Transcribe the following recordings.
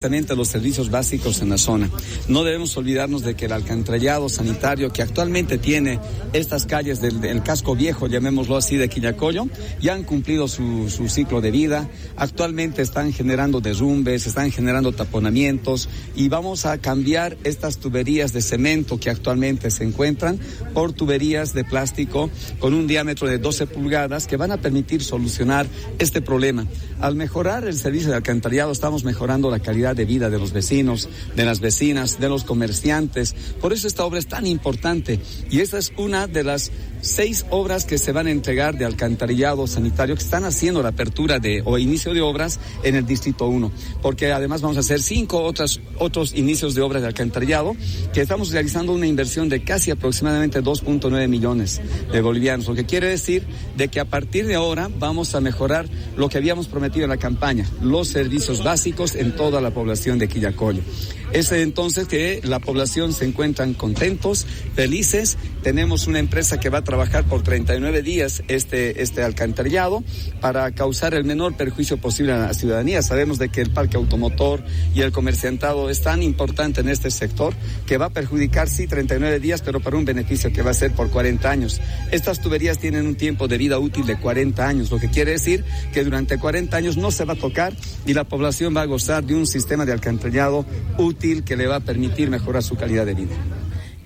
Los servicios básicos en la zona. No debemos olvidarnos de que el alcantarillado sanitario que actualmente tiene estas calles del casco viejo, llamémoslo así, de Quillacollo, ya han cumplido su ciclo de vida. Actualmente están generando derrumbes, están generando taponamientos y vamos a cambiar estas tuberías de cemento que actualmente se encuentran por tuberías de plástico con un diámetro de 12 pulgadas que van a permitir solucionar este problema. Al mejorar el servicio de alcantarillado estamos mejorando la calidad de vida de los vecinos, de las vecinas, de los comerciantes. Por eso esta obra es tan importante y esta es una de las 6 obras que se van a entregar de alcantarillado sanitario que están haciendo la apertura de o inicio de obras en el Distrito 1, porque además vamos a hacer 5 otros inicios de obras de alcantarillado que estamos realizando una inversión de casi aproximadamente 2.9 millones de bolivianos, lo que quiere decir de que a partir de ahora vamos a mejorar lo que habíamos prometido en la campaña, los servicios básicos en toda la población de Quillacollo. Es entonces que la población se encuentran contentos, felices. Tenemos una empresa que va a trabajar por 39 días este alcantarillado para causar el menor perjuicio posible a la ciudadanía. Sabemos de que el parque automotor y el comerciantado es tan importante en este sector que va a perjudicar, sí, 39 días, pero para un beneficio que va a ser por 40 años. Estas tuberías tienen un tiempo de vida útil de 40 años, lo que quiere decir que durante 40 años no se va a tocar y la población va a gozar de un sistema de alcantarillado útil que le va a permitir mejorar su calidad de vida.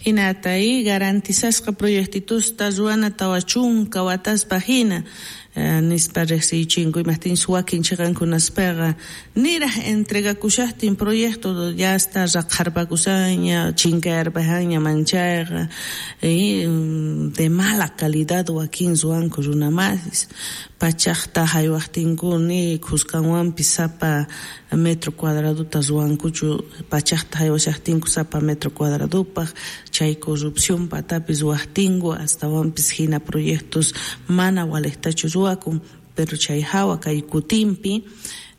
Hinata y garantizasqa proyectitusta ruana tawa chunka wataspa hina nispa riqsichinku imaqtinchus wakin chiqankunaspaqa niraq entregakushaqtin proyecto ya está raqharpakushaña chinkayarpajaña manchayqa de mala calidad wakin ruwanku runamasis pachaqta haywaqtinku ni khuskanwanpis sapa metro cuadraduta ruwankuchu pachaqta haywashaqtinku sapa metro cuadradupaq chay corrupción patapis ruwaqtinku astawanpis hina proyectos mana waliqtachu ruwakun pero chay hawa kay kutinpi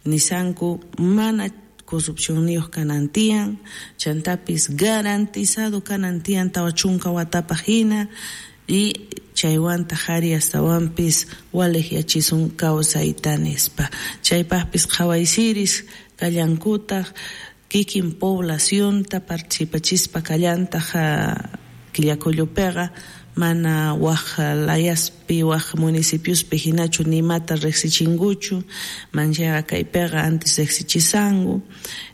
nisanku mana corrupcionniyuq kanan tiyan chantapis garantizado kanan tiyan 40 watapaq hina y chaywantaq ari astawanpis waliqyachisun kawsayta nispa chaypaqpis qhawaysiris kallankutaq kikin poblacionta participachispa kallantaq Quillacollopiqa mana waj layaspi waj municipiospi hinachu nimata riqsichinkuchu manchaqa kaypiqa antes riqsichisanku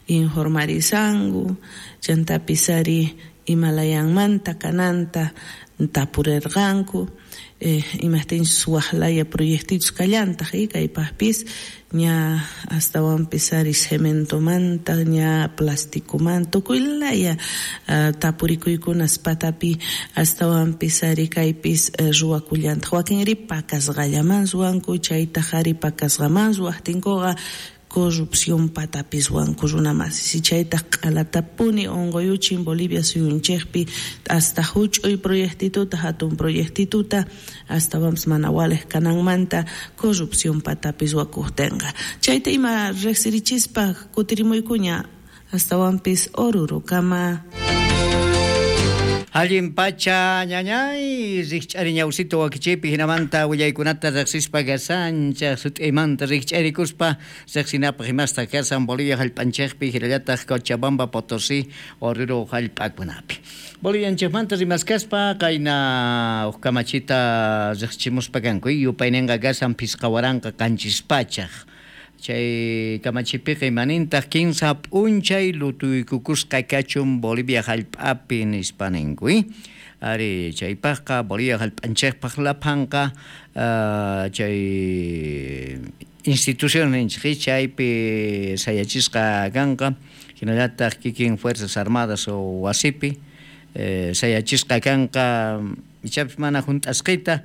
informarisanku chantapis ari imalayanmanta kananta tapurirqanku imaqtinchus waj laya proyectitos kallantaq kaypaqpis ña astawanpis ari cementomanta ña plasticomanta tukuy laya tapurikuykunas patapi astawanpis ari kaypis ruwakullantaq wakinri pakasqallaman ruwanku chaytaq ari pakasqaman ruwaqtinkuqa corrupción patapis ruwanku runamasis y chaytaq q'alatapuni unquyuchin Bolivia suyunchikpi hasta huch'uy proyectituta hatun proyectituta astawanpis mana waliq kananmanta corrupción patapis ruwakuqtinqa chayta ima riqsirichispa kutirimuykuña astawanpis Orurukama. Allin pacha ñañay rikch'ari ñawsito wakichaypi hinamanta willaykunata riqsispa kasanchaq sut'iymanta rikch'arikuspa riqsinapaq imasta kasan Bolivia hallp'anchikpi hinallataq Cochabamba Potosí Oruro hallp'akunapi. Bolivianchikmanta rimaskaspa qayna huk kamachita riqsichimuspa kanku yupayninqa kasan 5700. Chay kamachipiqa imanintaq 15 p'unchay lutuykukusqa kachun Bolivia hallp'api nispa ninku. Ari chaypaqqa Bolivia hallp'anchikpaq laphanqa chay institución ninchik chaypi sayachisqa kanqa hinallataq kikin Fuerzas Armadas o wasipi sayachisqa kanqa ichapis mana hunt'asqita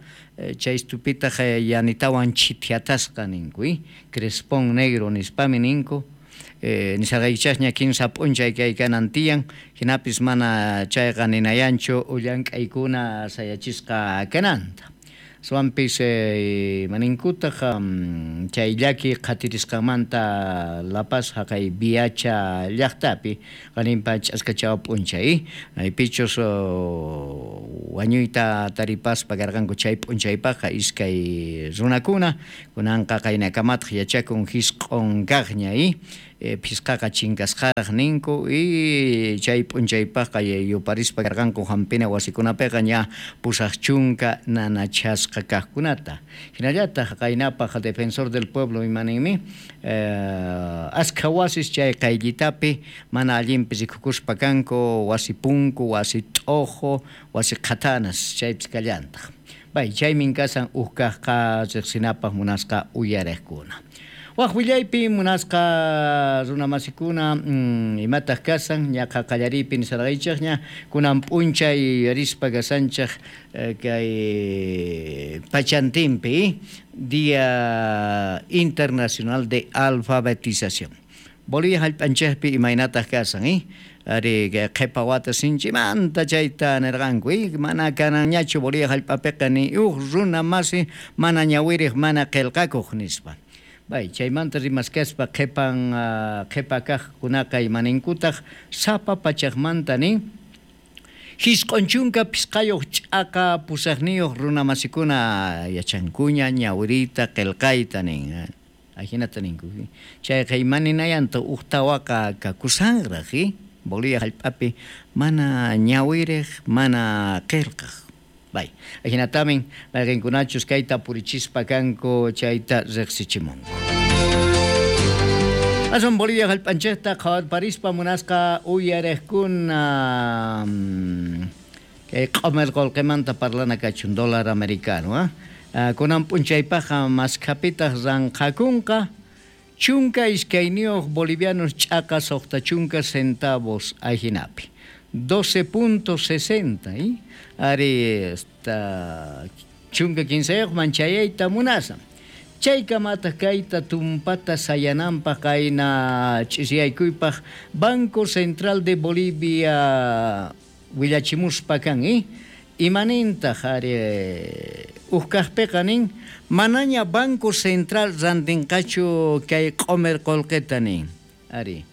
chay stupitaq yanitawan chithiatasqa ninku crespón negro nispami ninku nisarqaykichasña 15 p'unchay kay kanan tiyan hinapis mana chayqa ninayanchu llank'aykuna sayachisqa kananta Swampis maninkutaq chay llaki qhatirisqanmanta La Paz haqay Viacha llaqtapi qaninpa ch'askachawa p'unchay maypichus wañuyta taripaspa karqanku chay p'unchaypaqqa iskay runakuna kunanqa qaynakamataq yachakun hisq'un kaqña phisqaqa chinkasqaraq ninku y chay p'unchaypaqqa yuparispa karqanku hampina wasikunapiqa ña 80 nanachasqa kaqkunata. Hinallataq qaynapaq Defensor del Pueblo imaninmi askha wasis chay qayllitapi mana allinpi rikukuspa kanku wasi punku, wasi t'ojo, wasi qhatanas chaypis kallantaq. Bay chaymin kasan ukkaqqa riqsinapaq munasqa uyariqkuna. Waq willaypi munasqa runamasikuna imataq kasan ñaqa qallariypi nisarqaychikña kunan p'unchay yuyarispa kasanchik kay pachantinpi Día Internacional de Alfabetización. Bolivia hallp'anchikpi imaynataq kasan ari qhipa wata sinchimanta chayta nirqanku mana kananñachu Bolivia hallp'apiqa ni uj runa masi mana ñawiriq mana qillqakuq nispa. Bay chaymanta rimaskaspa qhipan qhipa kaqkunaqa imaninkutaq sapa pachaqmanta nin 95 ch'aqa 8 runamasikuna yachankuña ñawiriyta qillqayta nin. Ajinata ninku. Chayqa imaninayanta uj tawaqa kakusanraq Bolivia hallp'api mana ñawiriq mana qillqaq. Bay, ajinatamin mayqinkunachus kayta purichispa kanku chayta riqsichimunku. Asun Bolivia hallp'anchikta qhawarparispa munasqa uyariqkuna kay q'umir qullqimanta parlana kachun dólar americano kunan p'unchaypaqqa maskhapitaq ranqakunqa 12 bolivianos ch'aqa 60 centavos ajinapi 12.60 ari esta 15 manchayayta munasan chaykamataq kayta tumpata sayananpaq kayna ch'isiyaykuypaq Banco Central de Bolivia willachimuspa kan imanintaq ari ukkaqpiqa nin manaña Banco Central rantinqachu kay q'umir qullqita nin ari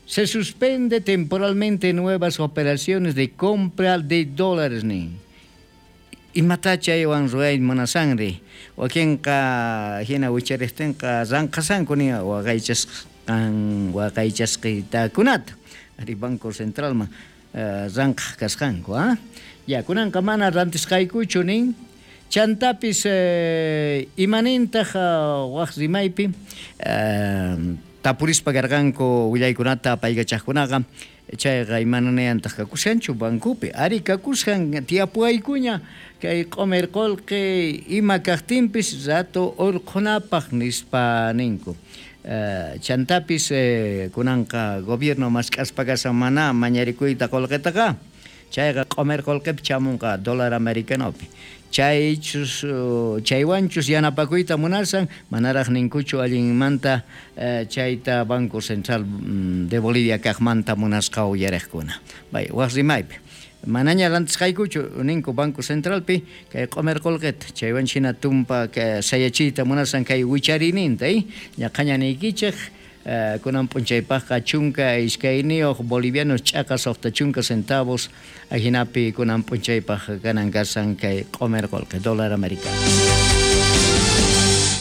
se suspende temporalmente nuevas operaciones de compra de dólares nin. Imata chaywan ruway munasanri wakinqa hina wichariqtinqa ranqasanku nin waqaychasqitakunata ari Banco Centralman ranqaq kasqanku ya kunanqa mana rantisqaykuchu nin. Chantapis imanintaq waq rimaypi tapurispa karqanku willaykunata apaykachaqkunaqa chayqa imananayantaq kakushanchu bancopi ari kakushan tiyapuaykuña kay q'umir qullqi ima kaqtinpis rato urqhunapaq nispa ninku. Chantapis kunanqa gobierno mask'aspa kasan mana mañarikuyta qullqitaqa chayqa q'umir qullqipi chamunqa dólar americanopi. Chaychus chaywanchus yanapakuyta munasan manaraq ninkuchu allinmanta chayta Banco Central de Bolivia kaqmanta munasqa uyariqkuna. Bay waq rimaypi manaña rantisqaykuchu ninku Banco Centralpi kay q'umir qullqita chaywan hina tumpa sayachiyta munasan kay wicharininta ñaqaña niykichik kunan p'unchaypaqqa 12 bolivianos ch'aqa 60 centavos ajinapi kunan p'unchaypaq kanan kasan kay q'umir qullqi dólar americano.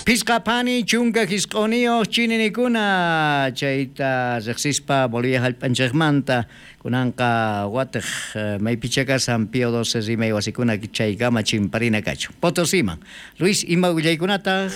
Pisqa phani 19 chininikuna chayta riqsispa Bolivia hallp'anchikmanta kunanqa watiq maypicha kasan Pío XII rimay wasikuna chaykama chimparina kachun. Potosiman. Luis, ima willaykunataq?